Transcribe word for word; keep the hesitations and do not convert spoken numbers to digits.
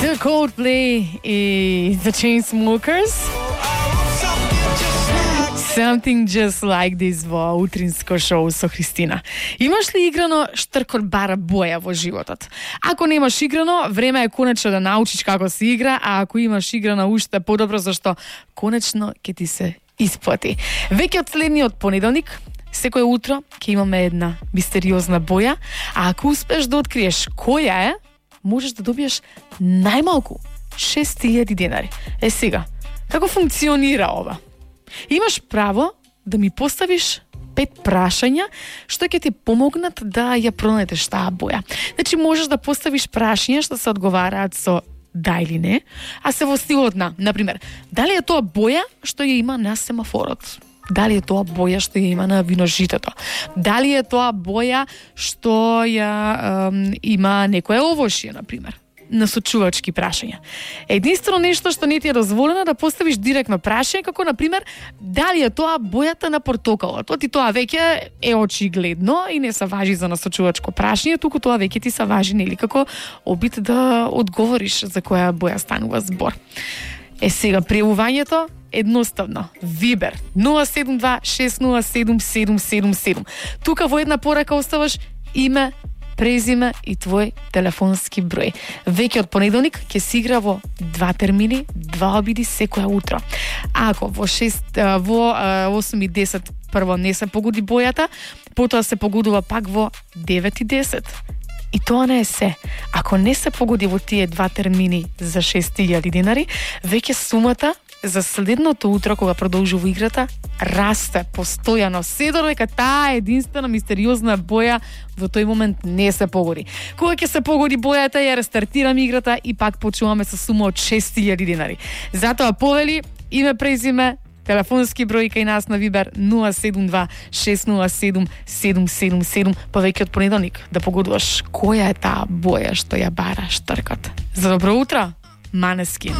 The Coldplay и The Chainsmokers. Something just like this во утринско шоу со Христина. Имаш ли играно штркот бара боја во животот? Ако немаш играно, време е конечно да научиш како се игра, а ако имаш играно уште подобро, зашто конечно ќе ти се исплати. Веќе од следниот понеделник, секој утро ќе имаме една мистериозна боја, а ако успеш да откриеш која е, можеш да добиеш најмалку шест илјади денари. Е сега, како функционира ова? Имаш право да ми поставиш пет прашања што ќе ти помогнат да ја пронајдеш таа боја. Значи можеш да поставиш прашања што се одговараат со да или не, а се во стилот на, например, дали е тоа боја што ја има на семафорот? Дали е тоа боја што ја има на виножитото? Дали е тоа боја што ја ем, има некое овошје, например? Насочувачки прашања. Единствено нешто што не ти е дозволено да поставиш директно прашање, како например, дали е тоа бојата на портокалот? Оти тоа веќе е очигледно и не се важи за насочувачко прашање, туку тоа веќе ти се важи нели како обид да одговориш за која боја станува збор. Е сега пријавувањето едноставно. Вибер нула седум два шест нула седум седум седум седум. Тука во една порака оставаш име, презиме и твој телефонски број. Веќе од понеделник ќе се игра во два термини, два обиди секоја утро. Ако во шест во осум и десет прво не се погоди бојата, потоа се погодува пак во девет и десет. И тоа не е се. Ако не се погоди во тие два термини за шест илјади денари, веќе сумата за следното утро кога продолжува играта расте постојано, се додека таа единствена мистериозна боја во тој момент не се погоди. Кога ќе се погоди бојата, ја рестартираме играта и пак почуваме со сума од шест илјади денари. Затоа повели име, презиме, телефонски број кај нас на Вибер нула седум два шест нула седум седум седум седум, па веќе од понеделник да погодуваш која е таа боја што ја бара штркот. За добро утро, Måneskin.